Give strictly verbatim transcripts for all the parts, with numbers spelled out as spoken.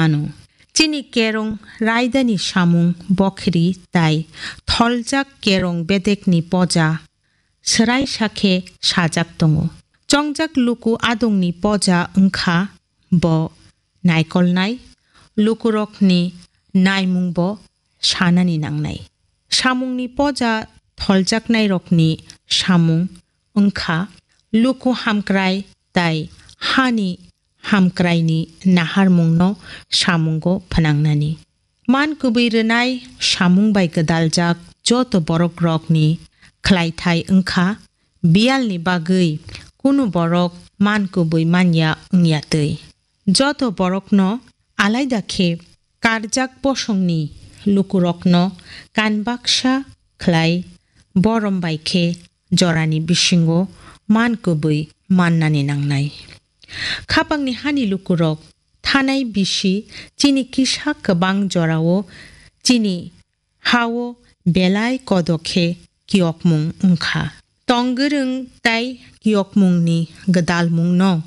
ano. Chini kerong raidani samung bokhri tai tholjak kerong bedekni poja swraisa khe sajak tongo. Chongjak luku adongni poja wngkha bo naikolnai, lukurokni naimungbo sanani nangnai. Samungni poja tholjaknairokni samung wngkha luku hamkrai tai hani hamkraini naharmungno samungo phnangnani. Man kubui rwnai samung bai gwdaljak joto borokrokni khlaithai wngkha biyalni bagwi kunu borok man kubui manya wngya twi. Joto borokno alaida khe karjak bosongni lukurokno kanbaksa khlai borom bai khe jorani bisingo man kubui mannani nangnai. Khapangni hani lukurok thanai bisi chini kisa kwbang jorao chini hao belai kodo khe kiyokmung wngkha. Tong gwrwng tai kiyokmungni gwdalmungno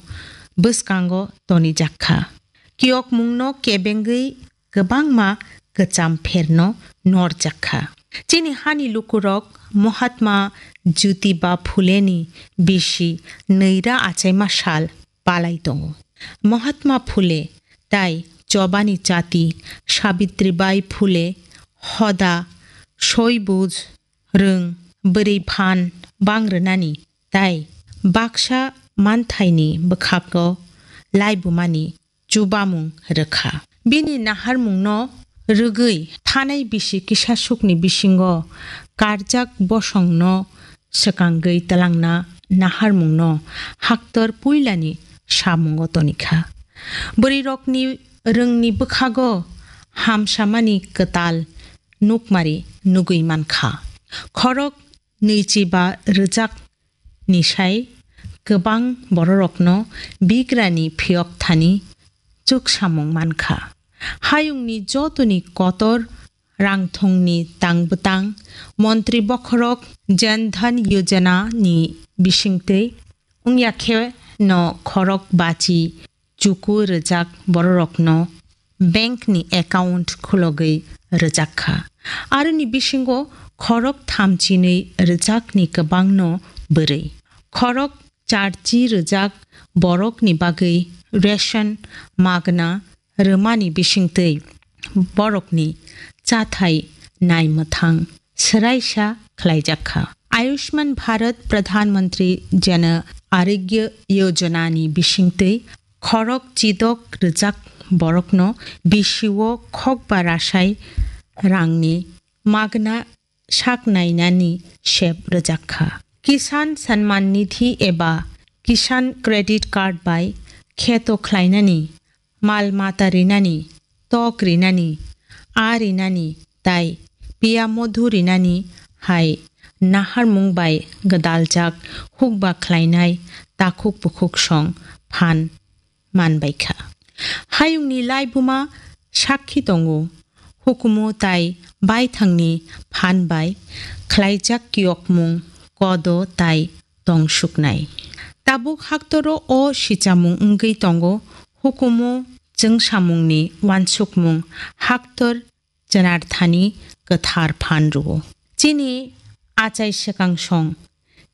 bwskango tonijak kha. Kiyokmungno kebengwi kwbangma kwcham pherno norjak kha. Chini hani lukurok Mahatma Jyotiba Phuleni bisi nwira achaima sal palai tongo. Mahatma Phule tai chobani chati Sabitribai Phule hoda soibuj rwng bwrwi phan bang rwnani tai baksa manthaini bwkhago laibumani chubamung rwkha. Bini naharmungno rwgwi thanai bisi kisasukni bisingo karjak bosongno swkangwi twlangna naharmungno haktor puilani samungo tonikha. Bwrwirokni rwngni bwkhago hamsamani kwtal nukmari nugwi mankha. Khorok nwichiba rwjak ni sai kwbang bororokno bigrani phiyok thani chuksamung mankha. Hayungni jotoni kotor rangthongni tangbwtang montri bokhorok Jan Dhan Yojana ni bisingtwi wngya khe no khorok bachi chuku rwjak bororokno bank ni account khulogwi rwjak kha. Aroni bisingo khorok thamchinwi rwjakni kwbangno bwrwi. Khorok charchi rwjak borokni bagwi ration magna rwmani bisingtwi borokni chathai naimwthang swraisa khlaijak kha. Ayushman Bharat Pradhan Mantri Jan Arogya Yojana ni bisingtwi khorok chidok rwjak borokno bisio khokba rasai rangni magna sak nainani sep rwjak kha. Kisan Samman Nidhi eba Kisan Credit Card bai kheto khlainani, mal mata rinani, tok rinani, a rinani tai piya modhu rinani hai naharmung bai gwdaljak hukba khlainai takhuk bukhuk song phan manbaikha. Hayungni laibuma sakhi tongo, hukumu tai baithangni phan bai khlaijak kiyokmung kodo tai tongsuknai. Tabuk haktoro o sichamung wngwi tongo, hukumu chwngsamungni uansukmung haktor chwnar thani kwthar phan rwo. Chini achai swkang song,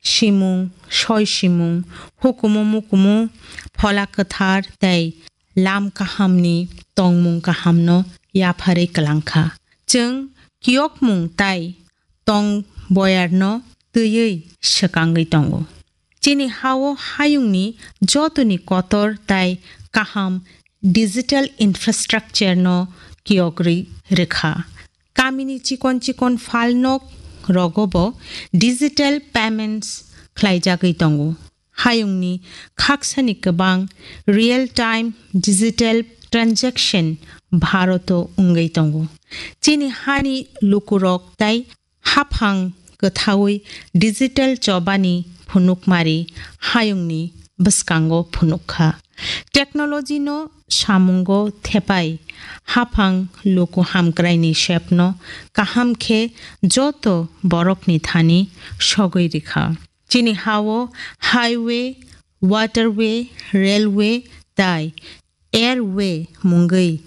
simung, soi simung, hukumu mukumu, phola kwthar tei lam kahamni tongmung kahamno yapharwi kwlangkha. Chwng kiyokmung tai tong boyarno twiwi swkangwi tongo. Chini hao hayungni jotoni kotor tai kaham digital infrastructure no kiyogrwi rwkha. Kamini chikon chikon phalnok rogobo digital payments khlaijagwi tongo. Hayungni khaksani kwbang real time digital transaction Bharoto wngwi tongo. Chini hani lukurok tai haphang kwthaui digital chobani phunukmari hayungni bwskango phunukha. Technology no samungo thepai haphang luku hamkraini sepno kaham khe joto borokni thani sogwi rikha. Chini hao highway, waterway, railway tai airway mungwi